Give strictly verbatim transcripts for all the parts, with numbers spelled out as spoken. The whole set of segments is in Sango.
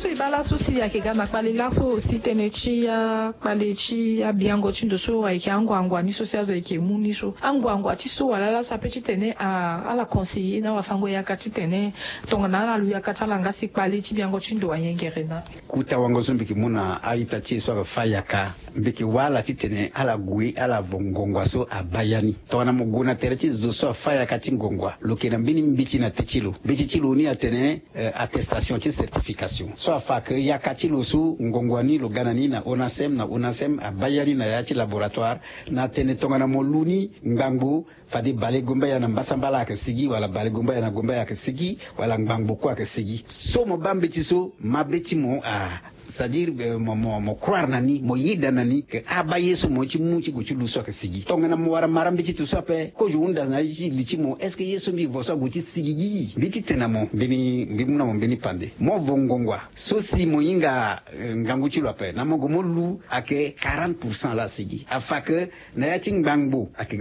So e baa laso si ayeke ga na kpale laso aussi tënë ti akpale ti abiango ti ndo so ayeke anguangua ni so si azo ayeke mu ni so anguangua ti so wala laso ape titene ala conseiller na wafango yaka titene tongana ala lu yaka ti ala nga si kpale ti biango ti ndo ayengere na. Kuta wango so mbi yeke mu na a-ita ti e so ayeke fâ yaka, mbi yeke wâ ala titene ala gue ala vo ngongua so abaa ya ni. Tongana mo gue na tere ti zo so afâ yaka ti ngongua, lo yeke na mbeni mbeti na tê ti lo. Mbeti ti lo ni atene attestation ti certification so afa ke yaka ti lo so ngongua ni lo ga na ni na onasem na onasem abaa ya ni na ya ti laboratoire, na atene tongana mo lu ni ngbangbo, fade balegombaya na mbasambala ayeke sigi wala balegombaya na gombaya ayeke sigi, wala ngbangbo kue ayeke sigi. So mo baa mbeti so mabe ti mo a c'est-à-dire mo croire na ni, mo yeda na ni ke abaa ye so mo ye ti mu ti gue ti lu so ayeke sigi. Tongana mo wara mara mbeti ti so ape kozo hunda na ye ti li ti mo, est-ce que ye so mbi vo so ague ti sigi gi? Mbi ti tene na mo mbeni, mbi mu na mo mbeni pande. Mo vo ngongua so si mo hinga ngangu ti lo ape na mo gue mo lu ayeke quarante pour cent laa sigi. Afa ke na ya ti ngbangbo ayeke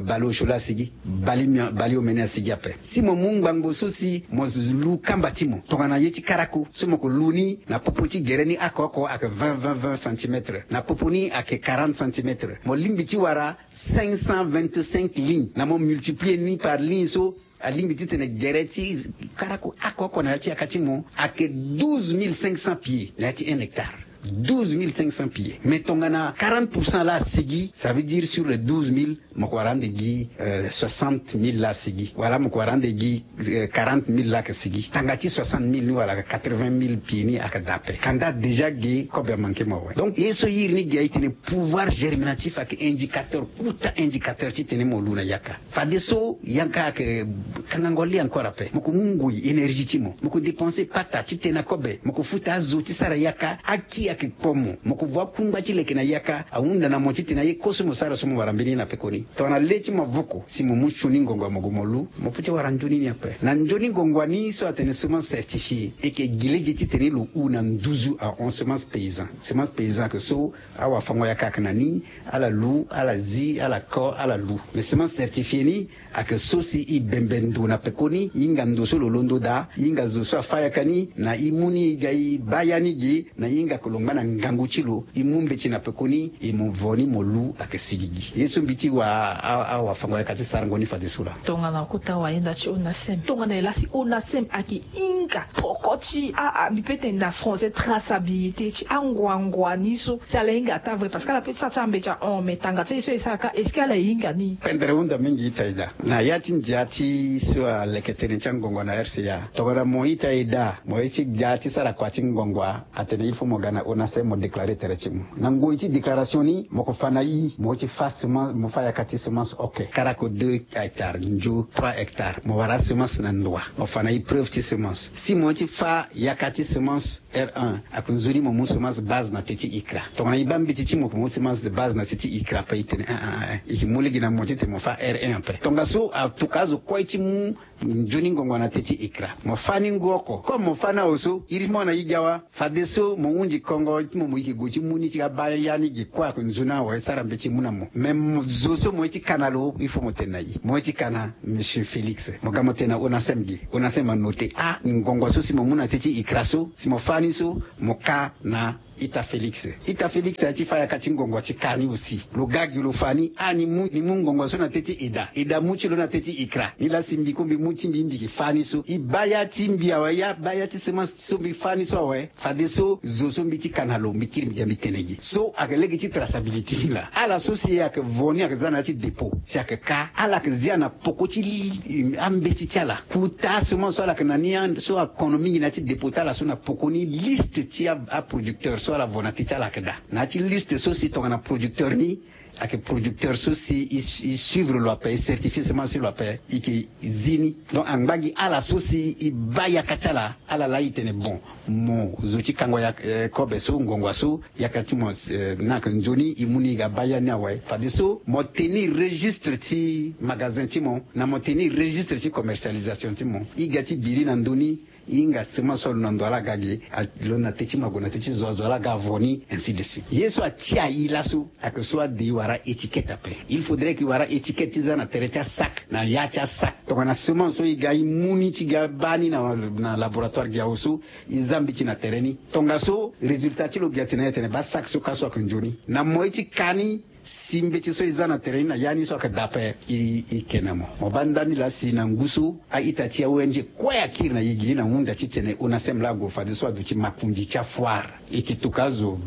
baleosio laa sigi, baleomene asigi ape. Si mo mu ngbangbo so si mo lu kamba ti mo tongana ye ti karako so mo ke lu ni na popo ti gere ni oko oko ayeke vingt vingt vingt centimètres, na popo ni ayeke quarante centimètres. Mo lingbi ti wara cinq cent vingt-cinq lignes na mo multiplier ni par ligne so alingbi titene gere ti karako oko oko na ya ti yaka ti mo ayeke douze mille cinq cents pieds na ya ti un hectare. Douze mille cinq cents pieds. Mais tongana quarante pour cent laa asigi, ça veut dire sur les douze mille mo ke wara ande gi soixante mille laa asigi, wala mo ke wara ande gi quarante mille laa ayeke sigi. Tanga ti soixante mille ni wala quatre-vingt mille pieds ni ayeke daa ape. Kanda déjà ge kobe amanke mo awe. Donc ye so iri ni ge aye tene pouvoir germinatif ayeke indicateur, kuta indicateur titene mo lu na yaka. Fadeso yanga ayeke kangango li encore ape. Mo ke mu ngoi, énergie ti mo, mo ke dépenser pata titene akobe, mo ke futa azo ti sara yaka. Aki ayeke kpo mo, mo ke vo akungba ti leke na yaka. Ahunda na mo titene aye kue so mo sara so mo wara mbeni na pekoni. Tongana le ti mo avoko si mo mu sioni ngongo mo gue mo lu, mo peut ti wara nzoni ni ape. Na nzoni ngongo ni so atene semence certifiée, e yeke gi lege titene lo hu na nduzu ahon semence paysan. Semence paysan ayeke so awafango yaka ayeke na ni, ala lu, ala zi, ala ko, ala lu. Mais semence certifiée ni ayeke so si e bembe ndo na pekoni, e hinga ndo so lo londo daa, e hinga zo so afâ yaka ni na e mu ni e ga e baa ya ni ge, na e hinga ke lo ngba na ngangu ti lo, e mu mbeti na pekoni, e mo vo ni mo lu ayeke sigi gi. Ye so mbi ti wa awafango yaka ti sarango ni fadeso laa. Tongana kota wayenda ti onasem, tongana e laa si onasem ayeke hinga poko ti a, a, mbi peut tene na français traçabilité ti anguangua ni so, si ala hinga ataa vrai, parce que ala peut ti sara ti ambeti ahon, mais tanga ti aye so e sara kâ, est-ce que ala hinga ni? Pendere hunda mingi ita e daa. Na ya ti ndia ti so aleke tënë ti angongo na R C A, tongana mo ita e daa, mo ye ti ga ti sara kua ti ngongo, atene il faut mo ga na onasem mo déclarer tere ti mo. Na ngoi ti déclaration ni mo ke fa na i, mo ye ti fâ semence, mo fâ yaka ti semence oke, karako deux hectares, nzo trois hectares, mo wara semence na ndoa, mo fa na i preuve ti semence. Si mo ye ti fâ yaka ti semence R un, ayeke nzoni mo mu semence base na tê ti ICRA. Tongana e baa mbeti ti mo ke mu semence de base na tê ti ICRA ape, e tene ah ah, e ke mu lege na mo titene mo fâ R un ape. Tongaso atoka azo kue ti mu nzoni ngongo na tê ti ICRA. Mo fâ ni ngu oko. Comme mo fâ ni awe so, iri ti mo na i ga wa. Fadeso mo hunzi kongo ti mo, mo yeke gue ti mu ni ti ga baa ya ni ge kue ayeke nzoni awe, sara mbeti mu na mo. Mais zo so mo ye ti ka na lo, il faut mo tene na i. Mo ye ti ka na Monsieur Félix. Mo ga mo tene na onasem ge. Onasem anote ah, ngongo so si mo mu na tê ti ICRA so, si mo fâ ni so, mo ka na ita Félix. Ita Félix aye ti fâ yaka ti ngongo ti ka ni aussi. Lo ga gi lo fa ni ah, ni mu, ni mu ngongo so na tê ti eda, eda mu ti lo na tê ti ICRA. Ni laa si mbi kue mbi mu ti mbi, mbi ke fâ ni so. E baa ya ti mbi awe, ya baa ya ti semence so mbi fâ ni so awe. Fadeso zo so mbi ti ka na lo, mbi kiri mbi ga mbi tene gi. So ayeke lege ti traçabilité ni laa. Ala so si ayeke vo ni ayeke za na ya ti dépôt, si ayeke ka, ala yeke zia na poko ti ambeti ti ala. Kota semence so ala yeke na ni, so akono mingi na ya ti dépôt ti ala so, na poko ni liste ti aproducteur so ala vo na tê ti ala ayeke daa. Na ya ti liste so si tongana producteur ni ayeke producteur so si e suivre lo ape, e certifier semence ti lo ape, e yeke zi ni. Donc angba gi ala so si e baa yaka ti ala, ala laa e tene bon, mo zo ti kango ya kobe so, ngongo so, yaka ti mo ni ayeke nzoni, e mu ni e ga baa ya ni awe. Fadeso mo tenir registre ti magasin ti mo, na mo tenir registre ti commercialisation ti mo. E ga ti biri na ndö ni, Hinga semence so alo na ndo ala ga ge, alo na te ti mago na te ti zo azo ala ga avo ni, ainsi de suite. Ye so atia i laso, ake so ade i wara étiquette ape. Il faudrait ke i wara étiquette ti za na tere ti asac, na ya ti asac. Tongana semence so i ga i mu ni ti ga baa ni na laboratoire gi awe so, i za mbeti na tere ni. Tongaso résultat ti lo gi atene atene baa sac so ka so ake nzoni na moi ti ka ni. Si mbeti so i za na tere ni na ya ni so ake daa ape, i ke na mo. Mo baa ndani laa si na ngu so a-ita ti a-ong kue akiri na i gi na hunda titene onasem laa ague fadeso aduti makonzi ti afoire. E ke toka azo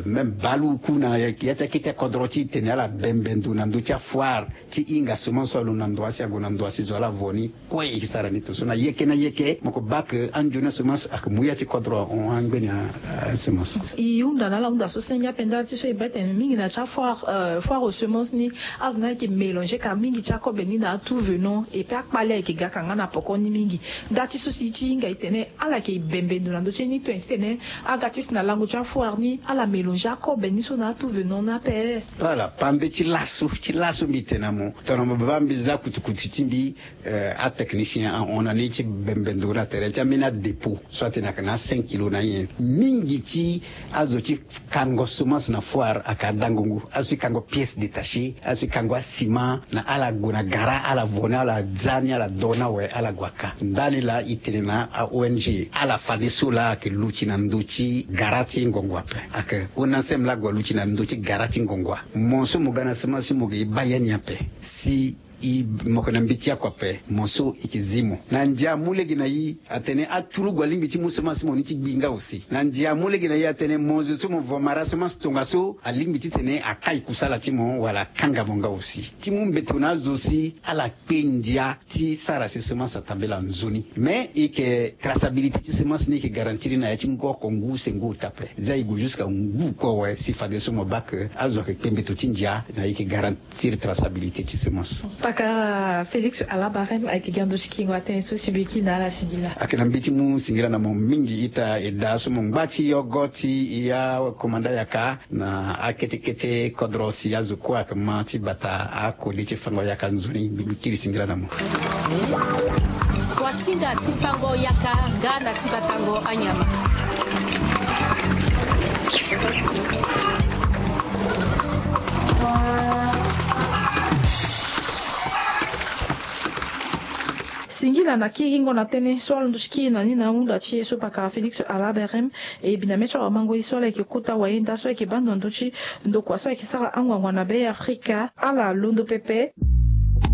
même baleoku na ya ti akete kodro ti tene ala bembe ndo na ndö ti afoire ti hinga semence so alo na ndo asi ague na ndo asi zo ala vo ni. Kue e ke sara ni to so na yeke na yeke mo ke baa ke anzoni asemence ake mu ya ti kodro ahon angbeni asemence. E hunda na ala hunda so senge ape ndali ti so e baa tene mingi na ti afoire, foire aux semences ni, azo ni ayeke mélanger ka mingi ti akobe ni na atout venant et puis akpale ayeke ga ka nga na poko ni mingi. Ndali ti so si e ti hinga e tene ala yeke bembe ndo na ndö ti ye ni to tene aga ti si na lango ti afoire ni ala mélanger akobe ni so na atout venant ni ape. Ala pande ti laso ti laso mbi tene na mo tongana mo baa mbi za kutukutu ti mbi. Atechnicien ahon na ni ti bembe ndo na tere ti ambeni adépôt so atene ayeke na a cinq kilo na nyen mingi ti azo ti kango semence na foire aka adangongo azo ti kango pièce détachée azo ti kango asima na ala gue na gara ala vo ni ala za ni ala do ni awe ala gue aka ndani laa e tene na a-ong ala fadeso laa ayeke luti na ndö ti gara ti ngongo ape. Ayeke onasem laa ague aluti na ndö ti gara ti ngongo. Mo so mo ga na semence si mo ge e baa ya ni ape si i moko na mbeti oko ape mo so i ke zi mo na ndia amu lege na i atene aturugu alingbi ti mu semence mo ni ti gbi nga aussi na ndia amu lege na i atene mo zo so mo vo mara semence tongaso alingbi titene akai kusala ti mo wala akanga mo nga aussi ti mu mbeto na azo si ala kpe ndia ti sara si semence atambela nzoni. Mais i ke traçabilité ti semence ni i ke garantir na ya ti ngu oko ngu use ngu ota ape. Za i gue jusqu'à ngu kue awe si fadeso mo baa ke azo ayeke kpe mbeto ti ndia na i ke garantir traçabilité ti semence. Pakara Félix Alabarem ayeke gi ando ti kingo atene so si mbi ki na ala singila. Ayeke na mbi ti mu singila na mo mingi ita e daa so mo ngba ti yogo ti ya komanda yaka na akete kete kodro si azo kue ayeke ma ti bata akode ti fango yaka nzoni mbi mbi kiri singila na mo. Wasinga ti fango yaka nga na ti batango anyama. Singila na kiringo na tënë so alondo ti kiri na ni na hunda ti e so pakara Félix Alaberem. E biname ti awamango ye so ala yeke kota wayenda so ayeke baa ndo na ndö ti ndokua so ayeke sara angwangwa na be Afrika ala londo pepe.